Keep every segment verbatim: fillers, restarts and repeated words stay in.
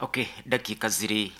Okay, dakika ziri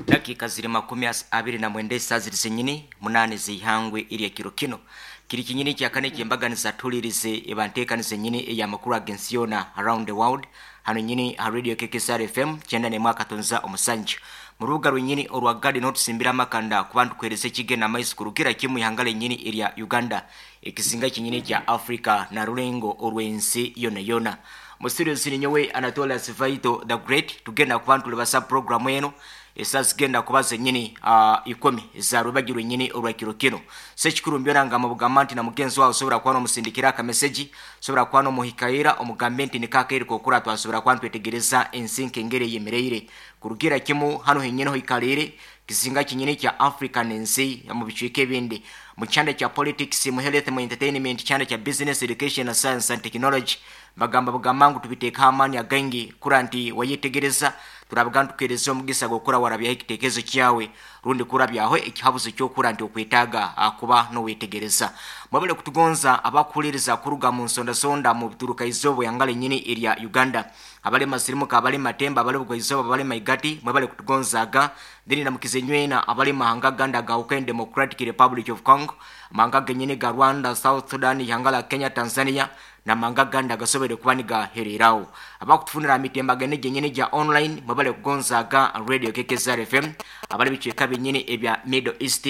dakika ziri makumi as- abiri na mwenda esaa ziri zenyini munane zeihangwe erya kiro kino kiri kinyini kyakane kyembaganiza tulirize ebanteekani zenyini eyamakuru agensi yoona around the world hano nyini ha radio K K S R F M kyenda nemwe akatonza omusanju mu rubuga rwenyini orwa garden otusimbira amakanda kuba ntukwereza ekigenda amaiso kurugira kimu ihanga lenyini erya Uganda, ekisinga kinyini kya Africa na rulengo orw'ensi yona yona. Mu studio ziri nyowe Anatolius Vaito the Great. Tugenda kuba ntulibasa programu eno esaa zigenda kuba zenyini uh, ikumi za rubagi rwenyini orwa kiro kino. Sekikuru mbyona nga mubugamba nti na mugenzi wawe osobora kuba nomusindikira akameseji, osobora kuba nomuhikaira omugambe nti nikakaire kokura twasobora kuba ntwetegereza ensi nkengeri eyemereire kurugira kimu hano henyini hoikalire kizinga kinyini kya Africa nensi mu bicweka ebindi, mu kyanda kya politics, mu health, mu entertainment, kyanda kya business, education na science and technology. Bagamba bugamba ngu tubiteeka amaani againgi kura nti wayetegereza turabaga ntukereza omugisa gwokura warabyaho ekitekerezo kyawe rundi kurabyaho ekihabuzo kyokura nti okwetaaga ah, kuba nowetegereza. Mwabale kutugonza abakuhuliriza kuruga mu nsondasonda mu bituruka izooba yangala enyini erya Uganda, abali masirimuka, abali matemba, abali bugwaizooba, abali maigati, mwebale kutugonzaga. Then namukize nywena abali mahanga ganda ga Ukraine, Democratic Republic of Congo, mahanga genyini ga Rwanda, South Sudan, ihanga la Kenya, Tanzania na mahanga ganda gasobere kuba nigahererawo. Abakutufunira mitemba gene gyenyini gya online, mwebale kugonzaga radio K K S R F M. Abali bicweka byenyini ebya Middle East,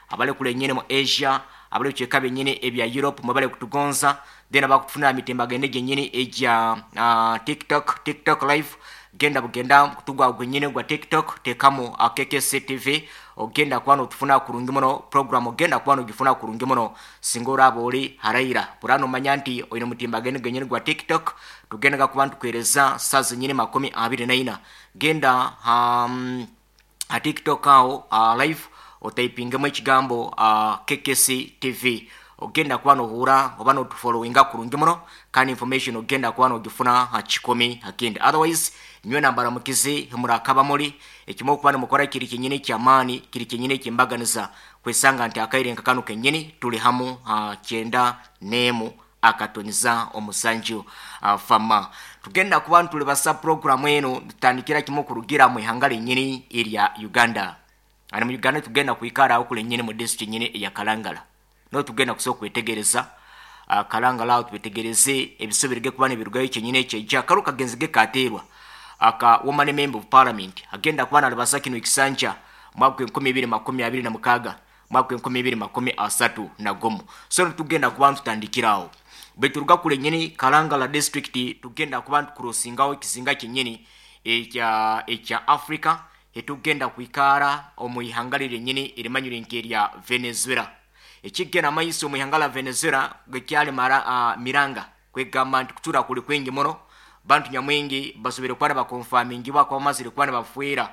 abali kule nyini mu Asia, abali bicweka byenyini ebya Europe, mwebale kutugonza. Then abakutufunira mitemba gene gyenyini egya uh, tiktok tiktok live, genda bugenda kutugwa gwenyini gwa TikTok, tekamu uh, K K C T V, ogenda kuba notufuna kurungi muno. Program ogenda kuba nogifuna kurungi muno singa oraba ori haraira burano manya nti oine mutimbagano genyini gwa TikTok. Tugendaga kuba ntukwereza saa zenyini makumi abiri naina. Genda um, ha TikTok aho uh, live, otypingemu ekigambo uh, K K C T V, ogenda kuba nohura oba notufollowinga kurungi muno kandi information ogenda kuba nogifuna ha kikumi hakindi. Otherwise nywe nambara mukizi murakaba muri ekimo okuba nimukora kiri kinyini kyamaani, kiri kinyini kyembaganiza kwesanga nti akaire nka kano kenyini tuli hamu uh, kyenda nemu akatoniza omusanju. uh, fama tugenda kuba ntulibasa programu eno tutandikira kimu kurugira mu ihanga lenyini erya Uganda. Ani mu Uganda tugenda kwikara aho kulenyini mu district nyini eya Kalangala, no tugenda kusobola kwetegereza uh, Kalangala aho twetegereze ebisobere kuba nibirugayo kyenyini ekyeja karo kagenzi ge kateerwa aka woman member of parliament agenda kuba nalibasa kino ekisanja mwaka enkumi ibiri makumi abiri na mukaaga mwaka enkumi ibiri makumi asatu na gumu. So tugenda kuba ntutandikirawo bweturuga kule nyini Kalangala district, tugenda kuba ntukurosingawo ekizinga kyenyini ekya ekya Africa, etugenda kwikara omu ihanga lyenyini erimanyire nkerya Venezuela. Ekigenda maiso mu ihanga la Venezuela gekyali mara uh, miranga kwegamba nti kutura kuli kwingi muno, bantu nyamwingi basobere kuba nibakonfamingibwa kuba bamazire kuba nibafuira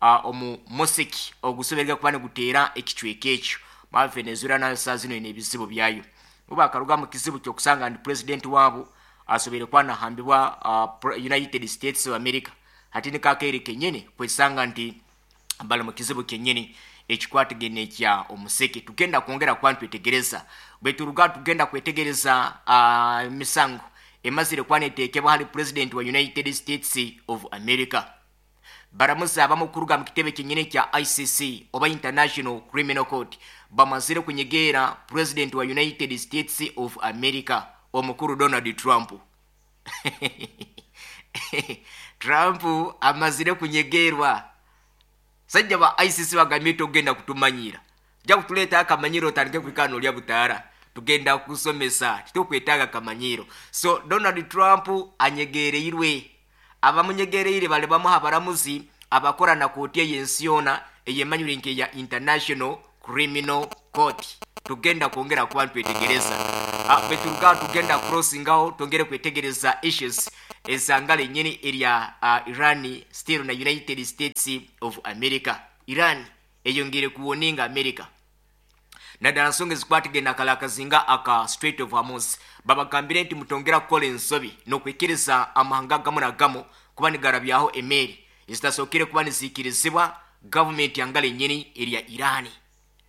uh, omu musiki ogusoberega kuba niguteera ekicweka ekyo ma Venezuela nayo saa zino ine ebizibu byayo. Bakaruga mu kizibu kyokusanga nti president waabo asobere kuba nahambibwa uh, United States of America, hati nikakeire kenyini kwesanga nti bali mu kizibu kenyini ekikwatagene ekya omuseke. Tugenda kwongera kuba ntwetegereza. Bweturuga tugenda kwetegereza uh, emisango emazire kuba neteekebwa hali president wa United States of America. Baramuzi abamu kuruga mu kitebe kyenyini kya I C C oba International Criminal Court bamazire kunyegeera president wa United States of America omukuru Donald Trump. Trump amazire kunyegerwa sajja ba I C C, bagambye togenda kutumanyira, ja kutuleeta akamanyiro otandike kwikana olya butaara, tugenda kusomesa titukwetaaga kamanyiro. So Donald Trump anyegereirwe. Abamunyegereire bali bamuha abaramuzi abakora na kooti ey'ensi yoona eyemanyire nkeya International Criminal Court. Tugenda kwongera kuba ntwetegereza. Bweturuga tugenda crossingaho twongere kwetegereza issues ezanga lenyini erya uh, Iran still na United States of America. Iran eyongere kuwoninga America naddala nsonga ezikwatagana akala akazinga aka Strait of Hormuz. Babagambire nti mutongera kukola ensobi n'okwikiriza amahanga gamu na gamu kuba nigarabyaho emeeri ezitasookere kuba niziikirizibwa gavumenti yanga lenyini erya Irani.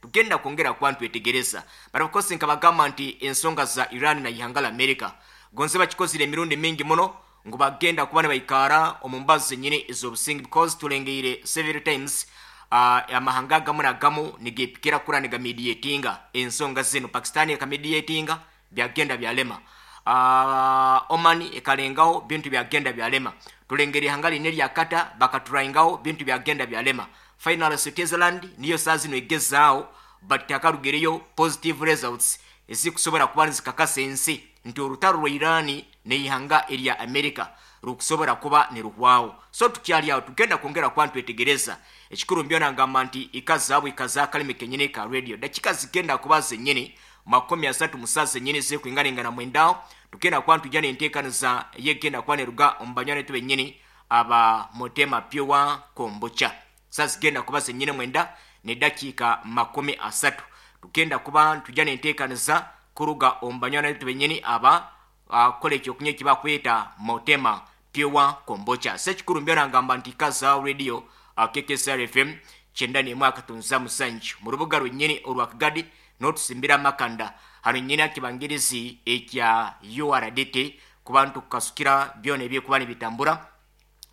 Tugenda kwongera kuba ntwetegereza. But of course nkabagamba nti ensonga za Iran na ihanga la America gonze bakikozire emirundi mingi muno. Ngu bagenda kuba nibaikara omu mbazo zenyini ez'obusinge, because tulengeire several times uh, amahanga agamu nagamu nigepikira kura nigamediatinga ensonga zino. Pakistan ekamediatinga, byagenda byalema. uh, Oman ekalengaho, bintu byagenda byalema. Tulengera ihanga line lya Kata bakaturaingaho, bintu byagenda byalema. Final, Switzerland niyo saa zino egezaaho, but takarugireyo positive results ezikusobola kuba nizikakasa ensi nti orutaro rwa Irani neihanga erya America rukusobola kuba niruhwaho. So tukyali aho, tugenda kwongera kuba ntwetegereza. Ekikuru mbyona ngamba nti ikazaabwe ikaza akalimi kenyini ka radio. Dakika zigenda kuba zenyini makumi asatu musa zenyini zekwinganingana mwendaho, tugenda kuba ntujja nenteekaniza yegenda kuba neruga omu banywani betu benyini aba Mutema Pure Kombucha. Sa zigenda kuba zenyini mwenda nedakiika makumi asatu, tugenda kuba ntujja nenteekaniza kuruga omu banywani betu benyini aba akola ekyokunywa ekibakweta Mutema Pure Kombucha. Sekikuru mbyona ngamba nti kaza radio uh, K K S R F M kyenda n'emu akatunza musanju mu rubuga rwennyini olwa Kagadi, n'otusimbira amakanda hano nyini akibangirizi ekya U R D T, kuba ntukasukira byona ebyekuba nibitambura,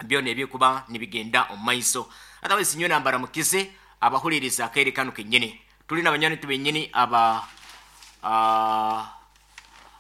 byona ebyekuba nibigenda omu maiso. Otherwise nyo nambara mukize abahuliriza akaire kano kenyini. Tulina abanywani benyini aba uh,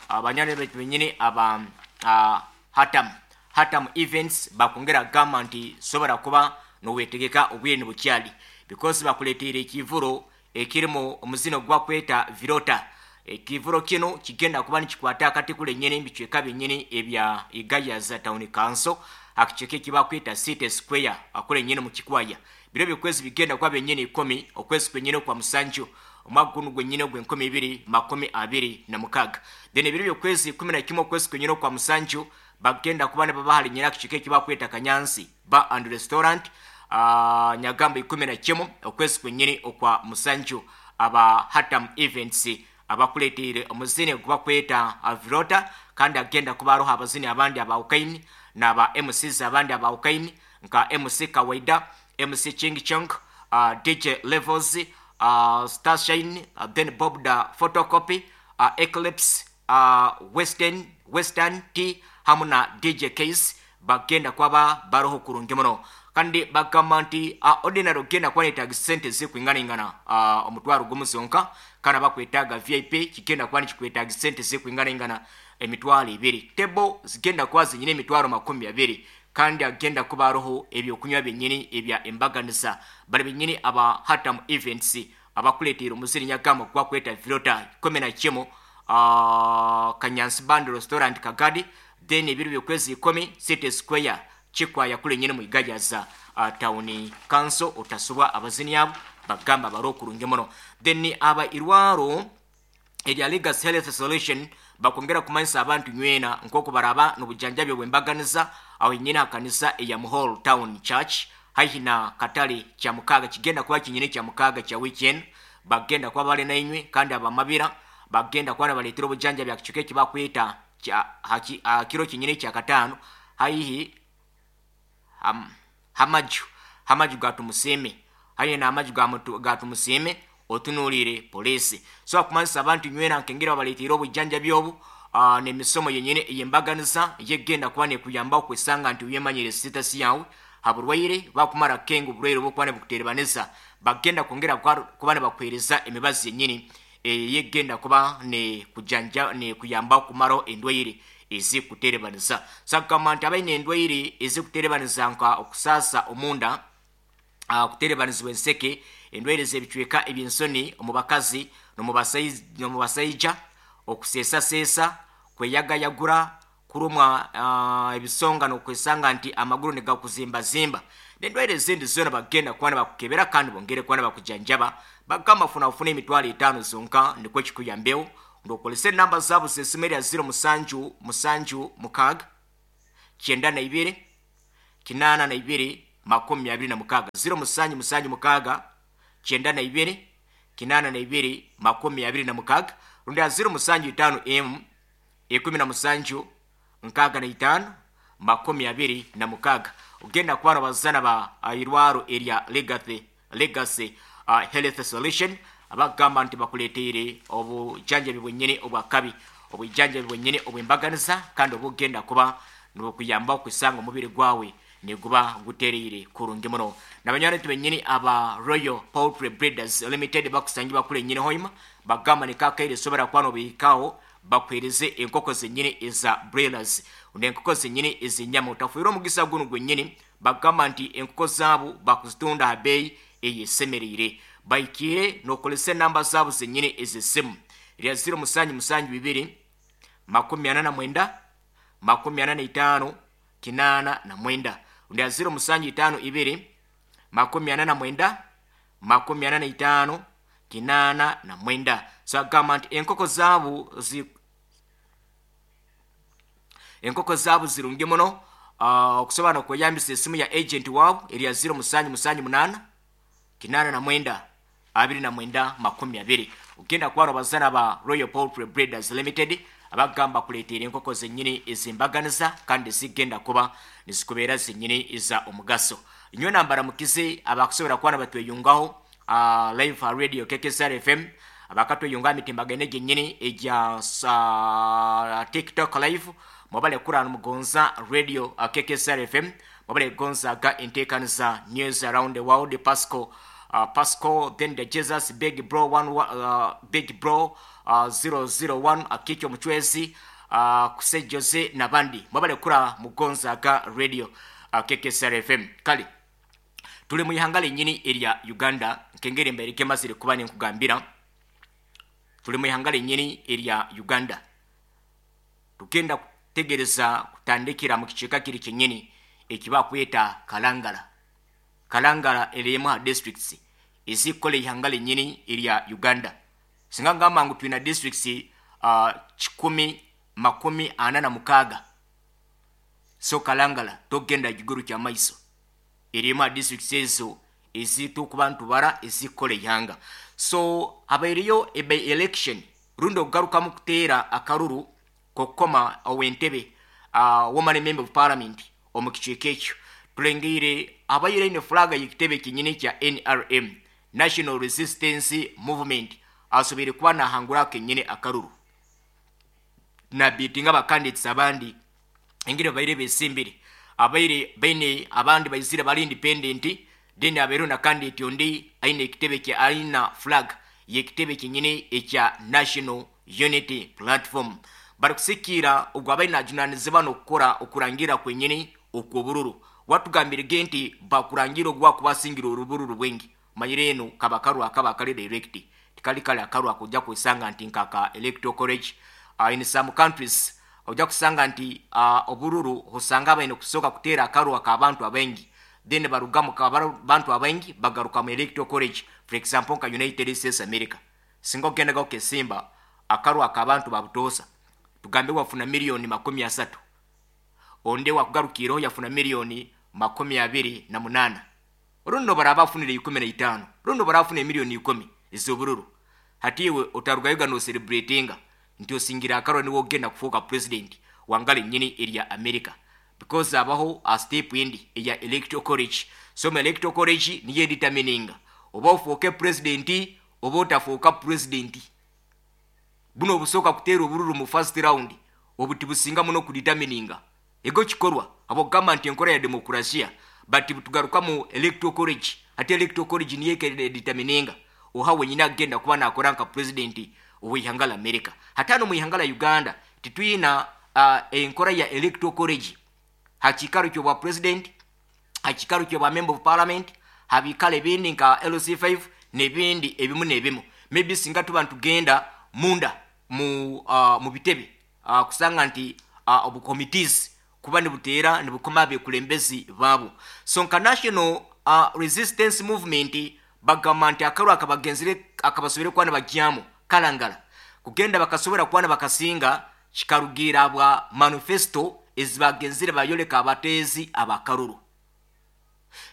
abanywani betu benyini aba uh, hatam hatam Events bakwongera gamba nti sobola kuba nowetegeka obwire nibukyali, because bakuleteire ekivuro ekirimu omuzino gwakweta Virota. Ekivuro kino kigenda kuba nikikwata akati kule nyene ebicweka byenyini ebya Igayaza Town Council, akicweka ekibakweta City Square akule nyene mu Kikwaya. Biro byokwezi bigenda kuba byenyini ikumi okwezi kwenyini kwa musanju omwaka guno gwenyini ogw'enkumi ibiri makumi abiri na mukaaga. Then ebiro byokwezi kumi na kimwe okwezi kwenyini okwa musanju bagenda kuba nibabahali nyina akicweka ekibakweta Kanyansi Bar and Restaurant, uh, nyagamba ikumi na kimu okwezi kwenyini okwa musanju. Aba Hatam Events abakuleteire omuzini gubakweta Virota, kandi agenda kuba aroho abazini abandi abawukaini naba M Cs abandi abawukaini nka M C Kawaida, M C Ching Chong, uh, D J Levels, uh, Starshine, uh, then Bob the Photocopy, uh, Eclipse, uh, Western Western T hamu na D J Case bagenda kwaba baroho kurungi muno. Kandi bagamba nti uh, ordinary ogenda kuba netaaga sente zikwinganingana uh, omutwaro gumu zonka, kandi abakwetaaga V I P kigenda kuba nikikwetaaga sente zikwinganingana emitwaro ebiri. Table zigenda kuba zinyina emitwaro makumi abiri, kandi agenda kuba aroho ebyokunywa byenyini ebya embaganiza. Bali benyini aba Hatam Events abakuleteera omuziri nyagamba gwakweta Virota, kumi na kimu, uh, Kanyansi Band Restaurant Kagadi. Then ebiro byokwezi ikumi, City Square Kikwaya kule nyine mu Igayaza uh, Town Council. Otasubwa abazini abo bagamba bari okurungi muno. Then aba irwaro erya Legacy Health Solution bakwongera kumanyisa abantu nywena nk'oku baraba n'obujanjabi obwembaganiza aho nyine akanisa eya Muhall Town Church haihi na katale kya mukaaga. Kigenda kuba kinyine kya mukaaga kya weekend, bagenda kuba bali nainywe, kandi abamabira bagenda kuba nabaleetera obujanjabi akicweka ekibakweta kya haki- ah, kiro kinyine kya kataano haihi ham, hamaju hamaju gatumusiime, haihi n'amaju ga mutu- gatumusiime otunuulire poliisi. So akumanyisa abantu nywena nkengera babaleetera obujanjabi obu uh, n'emisomo yenyini eyembaganiza yegenda kuba nekuyamba okwesanga nti uyemanyire status yawe haburwaire bakumara kenga oburwaire obwokuba nibukuterebanisa. Bagenda kwongera kwa- kuba nibakuhereza emibazi yenyini eyegenda kuba nekujanja nekuyamba okumaraho endwaire ezikuterebanisa. So akugamba nti abaine endwaire ezikuterebanisa nka okusaasa omunda, uh, kuterebanizibwa enseke, endwaire z'ebicweka eby'ensoni omu bakazi n'omu basaija, okuseesaseesa, kweyagayagura, kurumwa uh, ebisonga n'okwesanga nti amaguru negakuzimbazimba n'endwaire ezindi zoona, bagenda kuba nibakukebera kandi bongere kuba nibakujanjaba. Bagamba funa ofuna emitwaro etaano zonka nikwo kikuyambeho. Ng'okozesa enamba zaabo z'esimu erya ziro musanju musanju mukaaga kyenda na ibiri kinaana na ibiri makumi abiri na mukaaga, ziro musanju musanju mukaaga kyenda na ibiri kinaana na ibiri makumi abiri na mukaaga, rundi ya ziro musanju itaano emu ikumi na musanju nkaaga na itaano makumi abiri na mukaaga. Ogenda kuba abazana ba uh, irwaro erya Legacy, Legacy uh, Health Solution abagamba nti bakuleteire obujanjabi bwennyini obwakabi, obujanjabi bwennyini obwembaganiza kandi obugenda kuba. Nibukuyamba kwisanga omubiri gwawe niguba gutereire kurungi muno. Nabanywani tubenyini aba Royal Poultry Breeders Limited bakusangi bakule nyini hoima bagamba nikakaire sobera kwano bihikaho bakuhereze enkoko zenyini eza broilers nenkoko zenyini ezenyama. Utafuire omugisa guno gwenyini, bagamba nti enkoko zaabo bakuzitunda ha beeyi eyesemereire. Baikire nokolesa enamba zaabo zenyini ezesimu lya ziro musanju musanju bibiri makumi ana na mwenda makumi ana na itaano kinana na mwenda, lya ziro musanju itaano ibiri makumi ana na mwenda makumi ana na itaano kinana na mwenda. So agamba nti enkoko zaabo zi enkoko zaabo zirungi muno. uh, okusobola nokweyambisa esimu ya agent waabo erya ziro musanju musanju munana kinana na mwenda abiri na mwenda makumi abiri. Ogenda kuba abazana ba Royal Poultry Breeders Limited abagamba kuleetera enkoko zenyini ezimbaganiza kandi zigenda kuba nizikubeera zenyini eza omugaso. Nywe nambara mukize abakusobola kuba nabatweyungaho uh, live radio K K S R F M, abakatweyunga emitimbagano gyenyini egya uh, TikTok live, mwabale kurana mugonza radio uh, K K S R F M, mwabale gonzaga enteekaniza news around the world. Pasco Uh, Pasco then the Jesus big bro one, uh, big bro uh, zero zero one akicho muchwezi uh, kuse Jose nabandi mwabale kura mugonzaga radio uh, K K S R F M. Kali tuli mu ihanga lenyini erya Uganda, nkengere mbere kemazire kuba nkugambira tuli mu ihanga lenyini erya Uganda. Tugenda kutegereza kutandikira mu kicheka kiri kenyini ekiba kweta Kalangala. Kalangala erimu districts ezikola ihanga lenyini erya Uganda. Singa ngamba ngu tulina districts uh, kikumi makumi ana na mukaga. So Kalangala togenda giguru kya maiso erimu districts ezo ezitukuba ntubara ezikola ihanga. So abairiyo ebe election rundo garuka mu kuteera akaruru kokoma awentebe uh, woman member of parliament omukicheke ekyo tulengire abaire ne flag y'ekitebe kinyini kya N R M, National Resistance Movement, asobere kuba nahangura kenyine akaruru na bitinga ba candidates abandi engire baire besimbire abaire baine abandi baizire bali independent, then aberu na candidate ondi aine ekitebe kya aina flag y'ekitebe kinyini ekya National Unity Platform. Barikusikira ogwo abaine najunanizibwa n'okukora okurangira kwenyini okwobururu. Watugambire nti bakurangira ogwa kubasingira orubururu bwengi manyire eno kabakaru akaba kali direct tikali kali akaru akujja kusanga nti nkaka electoral college. Uh, in some countries ojja kusanga nti uh, obururu hosanga abaine kusoka kuteera akaru akabantu abengi, then barugamu abantu abengi bagaruka mu electoral college. For example nka United States America, singa ogenda gokesimba akaru akabantu babutosa tugambe wafuna milioni makumi asatu, onde wakugarukiro yafuna milioni makumi abiri na munana, runo barabafunire ikumi na itano, runo barafuna milioni ikumi ez'obururu. Hatiwe otarugayoga no celebratinga nti osingira akaro niwo ogenda kufuuka president wangale nyini erya America, because abaho a step indi eya electoral college. So mu electoral college niye determininga oba ofuuke president oba otafuuka president. Buno obusoka kuteera obururu mu first round obutibusinga muno kudetermininga ego kikorwa abo gamba nti enkora ya demokrasia, but tugaruka mu electoral college. Ate electoral college niye determininga oha wenyina agenda kuba nakora nka president ow'ihanga la America. Hatano mu ihanga la Uganda titwina uh, enkora ya electoral college hakikaro kyo bwa president, hakikaro kyo bwa member of parliament, habikale bindi nka L C five nebindi ebimu nebimu. Maybe singa tuba ntugenda munda mu uh, mu bitebe uh, kusanga nti uh, obu committees kuba nibuteera nibukoma bekulembezi baabo. So nka National uh, Resistance Movement bagamba nti akaru akabagenzire akabasobere kuba nibagyamu Kalangala kugenda bakasobora kuba nibakasinga kikarugira bwa manifesto ezibagenzire bayoleka abateezi abakaruru.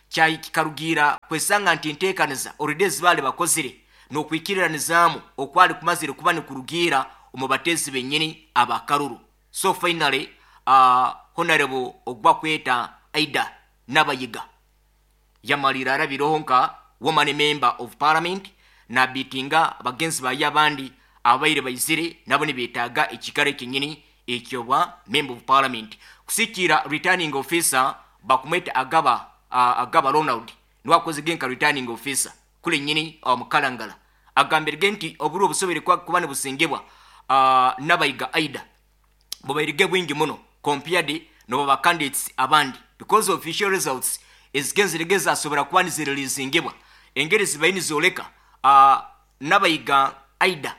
Kyayi kikarugira kwesanga nti enteekaniza already zibale bakozire n'okwikiriranizaamu okwali kumazire kuba nikurugira omu bateezi bennyini abakaruru. So finally uh, Honorable ogwa kweta Aida Nabayiga yamalira arabiroho nka woman member of parliament na bitinga bagenzi baye abandi abaire baizire nabo nibetaaga ekikaro kenyini ekyobwa member of parliament. Kusikira returning officer bakumweta Agaba, uh, Agaba Ronald, niwe akozige nka returning officer kule nyini omu Kalangala, agambirege nti oburu obusobere kuba nibusingebwa uh, Nabayiga Aida bubairige bwingi muno compared nobo ba candidates abandi, because official results ezigenzerege zasobora kuba nizireleasingibwa engeri zibaye nizoleka uh, Nabayiga Aida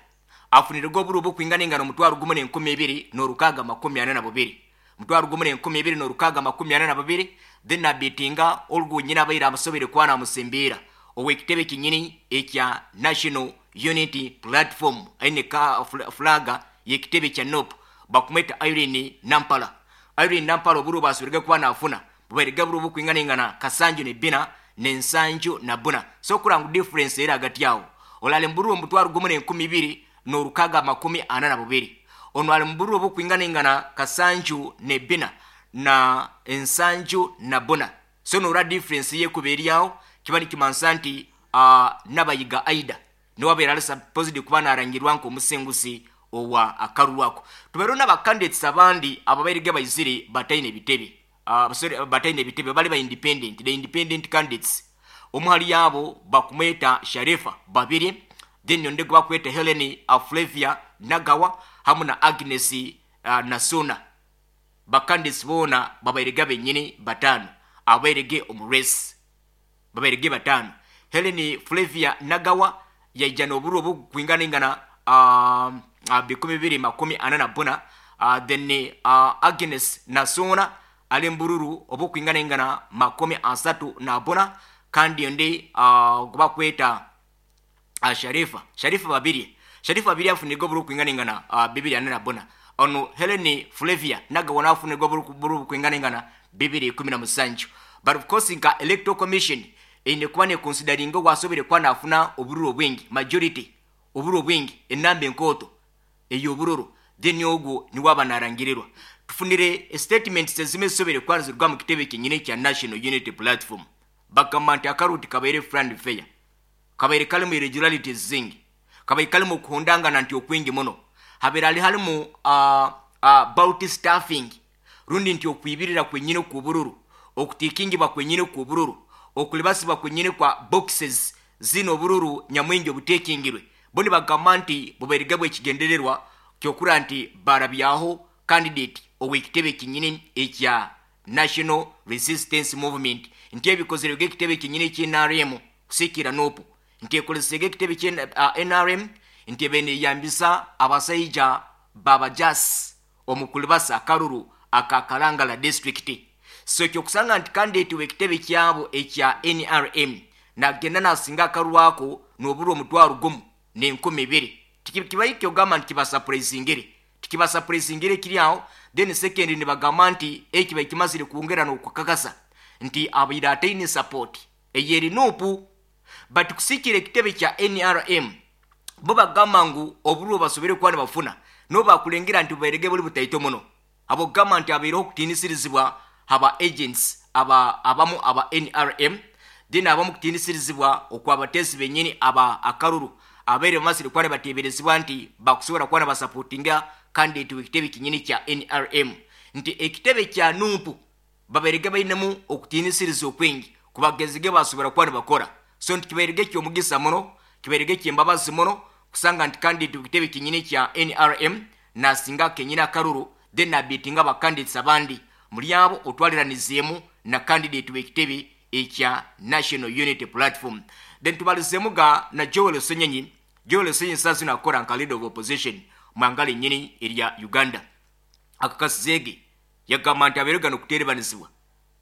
afunirwe oburu obukwingana engano omutwaro gumu n'enkumi ibiri n'orukaga makumi ana na bubiri, mutwaro gumu n'enkumi ibiri n'orukaga makumi ana na bubiri. Then nabitinga olwo nyina abaire amusobere kuba namusimbiira ow'ekitebe kinyini ekya National Unity Platform, aine ka flaga y'ekitebe kya N U P, bakumweta Irene Nampala. Irene Nampala oburu basobere kuba nafuna bubaire buru obukwingana engana kasanju ne bina n'ensanju na buna. So kurangu difference era hagati yawo, olali mburu omutwaro gumu n'enkumi ibiri n'orukaga makumi ana na bubiri, ono ali mburu obukwingana engana kasanju ne bina na ensanju na buna. So nora difference yekuba eryawo kiba nikimansa nti uh, Nabayiga Aida niwe abeera ali supposed kuba narangirwa nk'omusinguzi owa akaruru ako. Tubeereho n'abacandidates abandi ababairege baizire bataine ebitebe, uh, sorry, bataine ebitebe, bali ba independent, the independent candidates. Omu hali yabo bakumweta Sharifa Babiri, then onde bakweta Helen Flavia Nagawa hamu na Agnes uh, Nasuna. Bacandidates boona babairege benyini batano abairege omu race, babairege batano. Helen Flavia Nagawa yaija n'oburu obukwingana ingana uh, uh, bikumi bibiri makumi ana na buna, uh, then uh, Agnes Nasuna ali mbururu obukwingana ingana makumi asatu na buna, kandi onde uh, gubakweta uh, Sharifa Sharifa Babiri Sharifa Babiri afunirwa oburu kwingana ingana uh, bibiri ana na buna. Ono Helen Flavia Nagawa nafunirwa oburu kwingana ingana bibiri kumi na musanju. But of course nka Electoral Commission eine kuba neconsideringa wasobere kuba nafuna obururu obwingi, majority obururu obwingi, enamba enkooto ey'obururu, then ogwo niwe aba narangirirwa. Tufunire statements ezimwe zisobere kuba nizirwa mu kitebe kyenyini kya National Unity Platform. Bagamba nti akaruti kabaire free and fair, kabaire kalimu irregularities zingi, kabaire kalimu okuhondangana nti okwingi muno, habeere hali halimu uh, uh, ballot stuffing, rundi nti okwibirira kwenyini kw'obururu, okutikingibwa kwenyini kw'obururu, okulibasibwa kwenyini kwa boxes zino obururu nyamwingi obutekingirwe. Bo nibagamba nti bubairige bwekigendererwa kyokura nti barabyaho candidate ow'ekitebe kinyini ekya National Resistance Movement, nti ebikozere ekitebe kinyini ekya N R M kusikira N U P, nti ekolesege ekitebe kya N R M, nti ebeneyambisa abasaija babajasi omukulibasa akaruru aka Kalangala district. So kyokusanga nti candidate w'ekitebe kyabo ekya N R M nagenda nasinga akaruru ako n'oburu omutwaro gumu n'enkumi ibiri. Kibayi kyogamba nti kibasurprisingire, tikibasurprisingire kiri aho. Then second nibagamba nti ekiba kimazire kwongera n'okukakasa nti abaire ataine support eyeri N U P. But kusikira ekitebe kya N R M bo bagamba ngu oburu basobere kuba nibafuna no bakulengera nti bubairege buli butaito muno, abo gamba nti abaireho okutinisirizibwa aba agents aba abamu aba N R M, then abamu kutinisirizibwa okwabatezi benyini aba akaruru abaire bamasire kuba nibateeberezibwa nti bakusobola kuba nibasupportinga candidate w'ekitebe kinyini kya N R M, nti ekitebe kya N U P babairege bainemu okutinisiriza okwingi kubagezige basobola kuba nibakora. So nti kibairege ky'omugisa muno, kibairege ky'embabazi muno kusanga nti candidate w'ekitebe kinyini kya N R M nasinga kenyini akaruru, then nabitinga ba candidates abandi muri abo otwaliranizeemu na candidate w'ekitebe ekya National Unity Platform. Then tubalizemu ga na Joel Ssenyonyi. Joel Ssenyonyi sasa nakora nka leader of opposition mwangale nyini erya Uganda. Akakasizege yagamba nti abeerega n'okuterebanizibwa,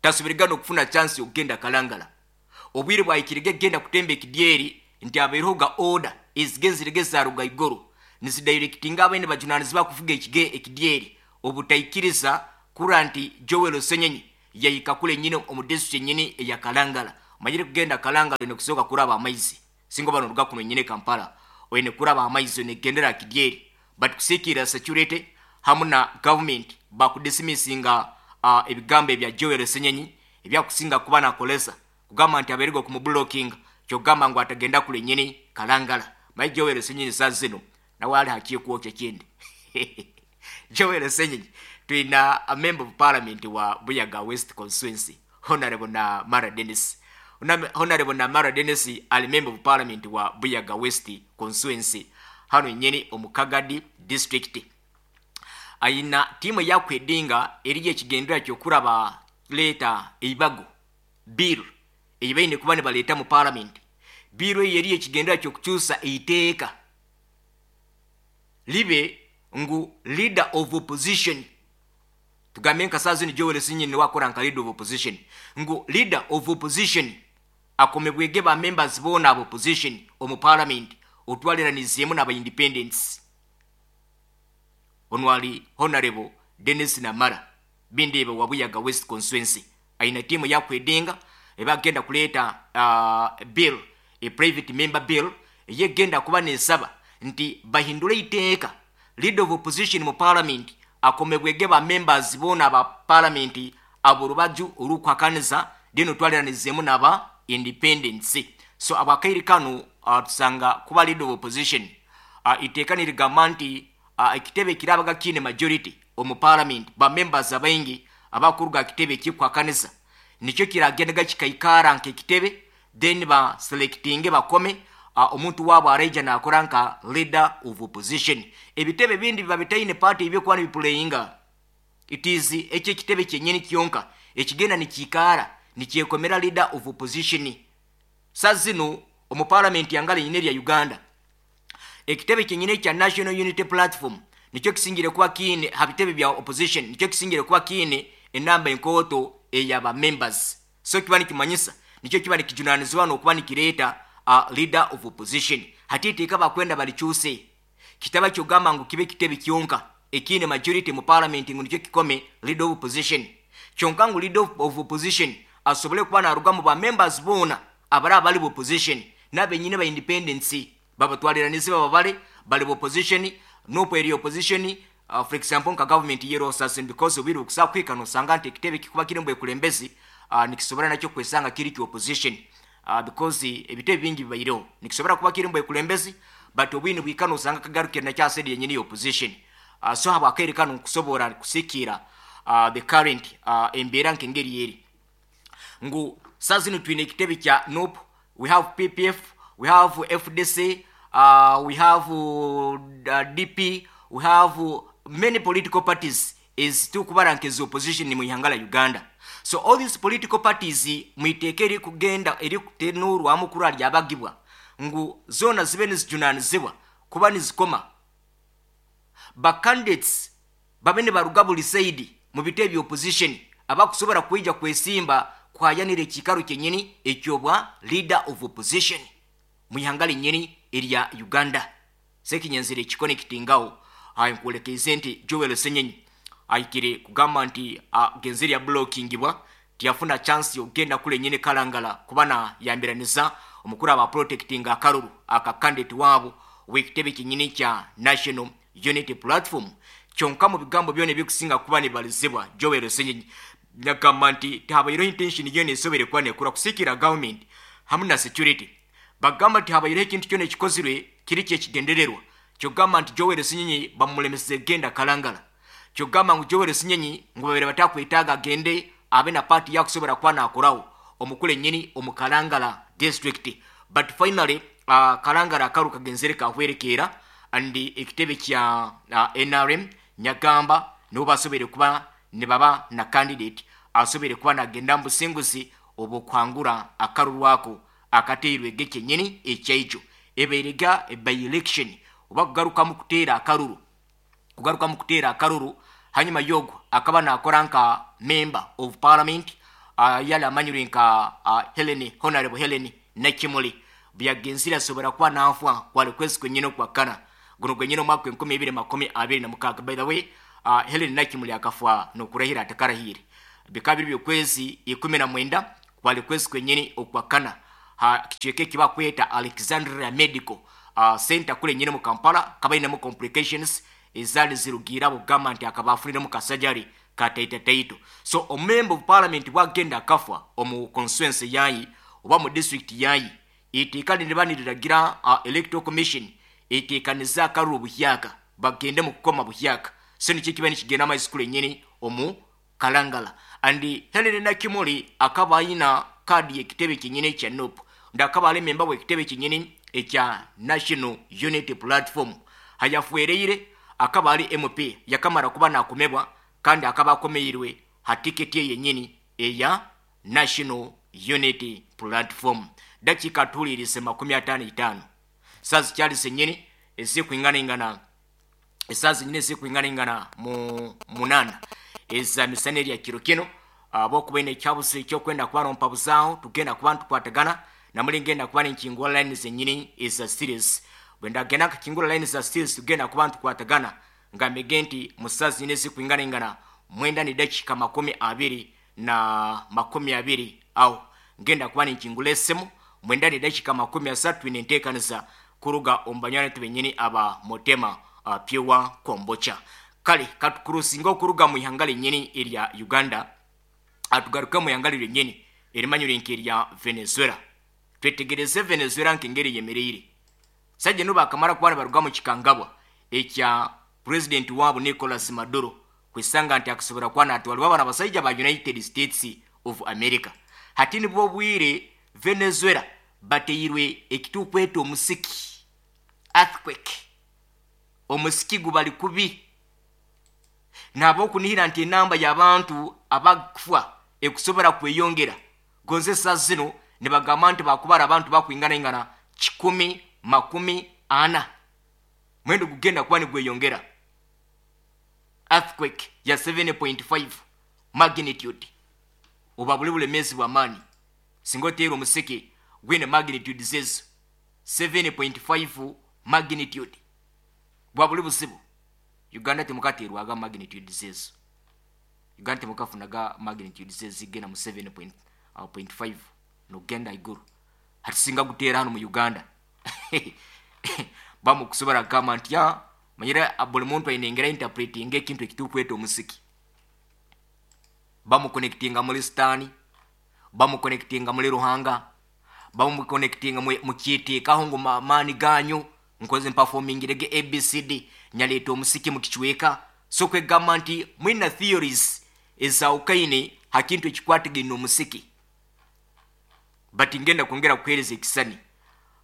tasubiriga n'okufuna chance okugenda Kalangala. Obwire bwayikirige genda kutemba ekidyeri nti abeereho ga order ezigenzirege zaruga igoro nizidirectinga abaine bajunanizibwa kufuga ekige ekidyeri obutaikiriza kura nti Joel Ssenyonyi yayika kule nyine omu district nyini eya Kalangala. Manyire kugenda Kalangala ine kusoka kuraba amaizi singo bano ruga kuno nyine Kampala oyine kuraba amaizi ne gendera kidyeri, but kusikira security hamu na government bakudismissinga uh, ebigambo ebya Joel Ssenyonyi ebyakusinga kuba nakolesa kugamba nti abeerigwa ku mublocking kyogamba ngu atagenda kule nyini Kalangala. Maye Joel Ssenyonyi saa zino nawe ali hakiye kwokya kindi. Joel Ssenyonyi Twina a member of parliament wa Buyaga West constituency, Honorable Namara Dennis. Honorable Namara Dennis ali member of parliament wa Buyaga West constituency hano nyeni omukagadi district. Ayina timu yakwedinga eriye ekigendera kyokuraba leta eibago bill eyibaine kuba nibaleta mu parliament. Bill eyo eriye ekigendera kyokukyusa eiteeka libe ngu leader of opposition, tugambe nka saa zino Joel Ssenyonyi wakora nka leader of opposition, ngu leader of opposition akomebwege ba members bona abo opposition omu parliament otwaliranizeemu n'aba independents. Onwali Honorable Dennis Namara bindebe wa Buyaga West constituency aina timu yakwedinga ebagenda kuleta uh, bill, a private member bill yegenda kuba nesaba nti bahindule iteeka leader of opposition mu parliament akomebwege ba members bona ba parliament aborubaju olukwakaniza dino twaliranizeemu n'aba independence. So abakairi kanu uh, tusanga kuba leader of opposition uh, iteeka nirigamba nti uh, ekitebe kirabaga kine majority omu parliament ba members abaingi abakuruga kitebe kikwakanisa nikyo kiragendaga kikaikara nke kitebe, then ba selectinge bakome uh, omuntu wabo areja nakora nka leader of opposition. Ebitebe bindi biba bitaine party ibyo kwani biplayinga it is ekyo kitebe kyenyini kyonka ekigenda nikikara nikyekomera leader of opposition. Sazino omu parliament yangala nyine ya Uganda ekitebe kyenyine kya National Unity Platform nikyo kisingire kuba kine habitebe bya opposition, nikyo kisingire kuba kine enamba enkoto eyaba members. So kiba nikimanyisa nikyo kiba nikijunanizwa n'okuba nikireeta a leader of opposition. Hati iteeka bakwenda balikyuse kitaba kyogamba ngu kibe kitebe kyonka ekine majority mu parliament ngu nikyo kikome leader of opposition kyonka, ngu leader of opposition asobole kuba naruga mu ba members bona abara abali mu opposition n'abenyine ba independence babatwaliranize bababale bali opposition nopo eri opposition. Uh, for example nka government yero assassin because obiri okusa kwika nosanga nti ekitebe kikuba kiri mbwe kulembezi uh, nikisobora nakyo kwesanga kiri ki opposition uh, because ebitebe bingi bibayireho nikisobora kuba kiri mbwe kulembezi but obwini bwikano osanga kagarukira nakya said yenyini opposition. uh, so haba akere kano kusobora kusikira uh, the current uh, embeera nkengeri yeri ngu sazino twine ekitebe kya N U P, we have P P F, we have F D C, uh, we have uh, D P, we have uh, many political parties is tukubara nkezi opposition mu ihanga la Uganda. So all these political parties muiteke eri kugenda eri kutenurwa mukuru alyabagibwa ngu zona zibe nizijunanizibwa kuba nizikoma ba candidates babene baruga buli saidi mu bitebe opposition abakusobora kuija kwesimba kwayanire ekikaro kyenyini ekyobwa leader of opposition mu ihanga linyini erya Uganda. Sekinyenzire ekikonectingawo ayi nkuolekeze nti Joel Ssenyonyi ayikire kugamba nti agenzere ya blockingibwa tiyafuna chance yogenda kule nyine Kalangala kubana yambiraniza omukuru aba protecting akaruru aka candidate wabo wekitebe kinyini kya National Unity Platform. Kyonka mu bigambo byone bikusinga kuba nibalizibwa Joel Ssenyonyi nyagamba nti tabairo intention yone esobere kuba nekura kusikira government hamwe na security. Bagamba nti habairo ekintu kyone ekikozirwe kiri kyekigendererwa kyogamba nti Joel Ssenyonyi bamulemeseze genda Kalangala, kyogamba ngu Joel Ssenyonyi ngu babere batakwetaaga agende abe na party yakusobora kuba nakorawo omukule nnyini omu Kalangala district. But finally uh, Kalangala akaru kagenzere kahwerekeera and ekitebe kya uh, N R M nyagamba nibo basobere kuba ne baba na candidate asobere kuba nagenda mu businguzi obukwangura akarurwako akateirwe gekenyini ekyaijo ebeerega by election oba kugarukamu kuteera akaruru kugarukamu kuteera akaruru. Hanyuma yogo akaba nakora nka member of parliament uh, yali amanyirwe nka uh, Helen Honorable Helen Nakimuli byagenzira asobora kuba nanfwa kwali kwezi kwenyine okwakana guno gwenyine omwaka enkumi ibiri makumi abiri na mukaaga. By the way uh, Helen Nakimuli akafwa nokurahira atakarahire bikaba biri by'okwezi ikumi na mwenda kwali kwezi kwenyine okwakana ha kicweka ekibakweta Alexandria Medical uh, Center kule nyine mu Kampala kabainemu complications ezali zirugira bugamba nti akaba afuniremu kasajari kataita taito. So a member of parliament bwagenda akafwa omu constituency yayi oba mu district yayi iteeka niribaniriragira uh, electoral commission eteekaniza akaruru buhyaka bagende mu kukoma buhyaka. So nikyo kiba nikigenda amaizi kulenyini omu Kalangala. And Helen Nakimuli akaba ayina kaadi y'ekitebe kyenyini ekya N U P, ndakaba ali memba w'ekitebe kyenyini ekya National Unity Platform. Hayafuereire akaba ali M P, yakamara kuba nakomebwa kandi akaba akomeirwe ha tiketi ye yenyini eya National Unity Platform. Dakika tulirise makumi ataano itaano, saa zikyali zenyini ezikuinganaingana, esaa zenyini ezikuinganaingana mu munana eza misana erya kiro kino. Abokuba ine ekyabuzi ekyokwenda kuba nompabuzaaho, tugenda kuba ntukwatagana namuli, ngenda kuba ninkingura line zenyini eza series. Bwe ndagenda nkakingura line za series, tugenda kuba ntukwatagana nga mbege nti mu saa zenyini ezikuinganaingana mwenda ni dakika makumi abiri na makumi abiri awo ngenda kuba ninkingula esimu. Mwenda ni dakika makumi asatu ine nteekaniza kuruga omu banywani benyini aba Motema uh, Pure Kombucha. Kale katukurusinga okuruga mu ihanga lenyini erya Uganda, atugaruke mu ihanga lyenyini erimanyire nk'erya Venezuela. Twetegereze Venezuela nk'engeri yemereire. Sajja no bakamara kuba baruga mu kikangabwa ekya president waabo Nicolas Maduro, kwisanga nti akusobora kuba natwalibwa bana abasajja ba United States of America. Hati nibwo bwire Venezuela bateirwe ekitukweta omusiki, earthquake. Omusiki gubali kubi nabo okunihira nti enamba y'abantu abakufa ekusobora kweyongera. Gonze saa zino nibagamba nti bakubara abantu bakwinganaingana kikumi makumi ana, mwendo gugenda kuba nigweyongera. Earthquake ya seven point five magnitude, oba buli bulemezi bwamaani singa oteera omuseke gwine magnitude zezo seven point five magnitude, bwa buli buzibu. Uganda temukateerwaga magnitude zezo. Uganda temukafunaga magnitude zezigenda mu seven point five nogenda iguru. Hati singa guteera hano mu Uganda, bamukusobora kugamba nti ya manyire buli muntu aine engeri interpreting ekintu ekitukweta omusiki. Bamuconnectinga muri sitaani, bamuconnectinga muri Ruhanga, bamuconnectinga mukiteekaho ngu maani ganyu nkoze mpaformingirege A B C D nyaleeta omusiki mukicweka. So kwegamba nti mwina theories ezawukaine ha kintu ekikwatagaine omusiki, but ngenda kwongera kuheereza ekisani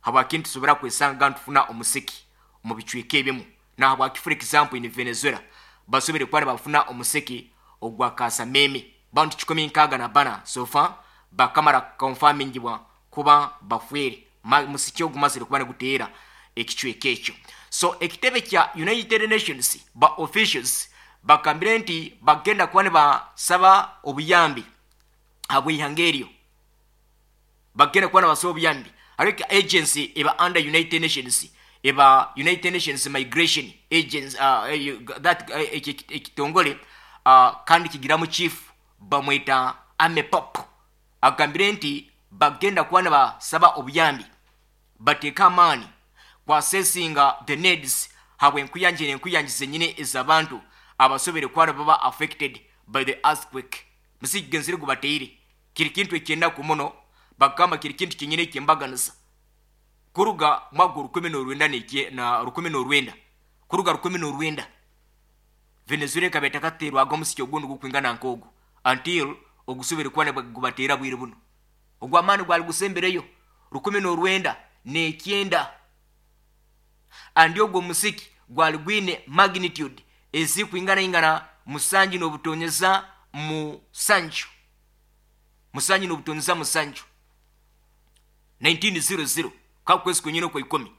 habwaki ntusobora kwesanga ntufuna omusiki omu bicweka ebimu, nahabwaki, for example, in Venezuela basobere kuba nibafuna omusiki ogwa kasameme. Bantu kikumi nkaaga na bana so far bakamara confirmingibwa kuba bafwere musiki ogumazire kuba niguteera ekicweka ekyo. So ekitebe kya United Nations ba officials bakambire nti bagenda kuba nibasaba obuyambi habwihanga eryo, bagenda kuba nibasaba obuyambi. Hariho agency eba under United Nations, eba United Nations Migration Agency, uh, that uh, ekitongole uh, kandi kigiramu chief bamwita Amy Pope, agambire nti bagenda kuba nibasaba obuyambi, bateeke amaani kwasesinga the needs habwe enkuyanja n'enkuyanja zenyini ez'abantu abasobere kuba baba affected by the earthquake. Musigenzire gubateire kiri kintu ekyenaku muno. Bagamba kiri kintu kyenyini ekyembaganisa kuruga mwaka rukumi n'orwenda na rukumi n'orwenda, kuruga rukumi n'orwenda, Venezuela ekaba etakateerwaga omusiki ogundi gukwingana nk'ogu until ogusubire kuba gubateera bwire buno ogw'amaani gwali gusembereyo rukumi n'orwenda n'ekyenda. Andi ogwo omusiki gwali gwine magnitude ezikwinganaingana musanju n'obutonyeza musanju, musanju n'obutonyeza musanju, nineteen hundred kakwezi kwenyini okwa ikumi.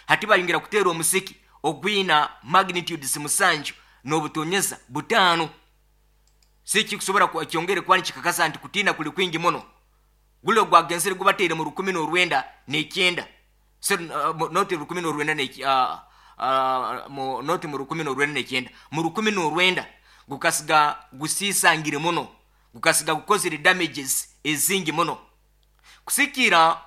Hati bayongera kuteera omusiki ogwina magnitudes musanju n'obutonyeza butaano. Sikikusobora kyongere kuba nikikakasa nti kutiina kuli kwingi muno. Guli ogwagenzere gubateire mu rukumi n'orwenda n'ekyenda, so uh, noti rukumi n'orwenda uh, uh, mu, noti mu rukumi n'orwenda n'ekyenda, mu rukumi n'orwenda gukasiga gusiisangire muno, gukasiga gukozere damages ezingi muno kusikira.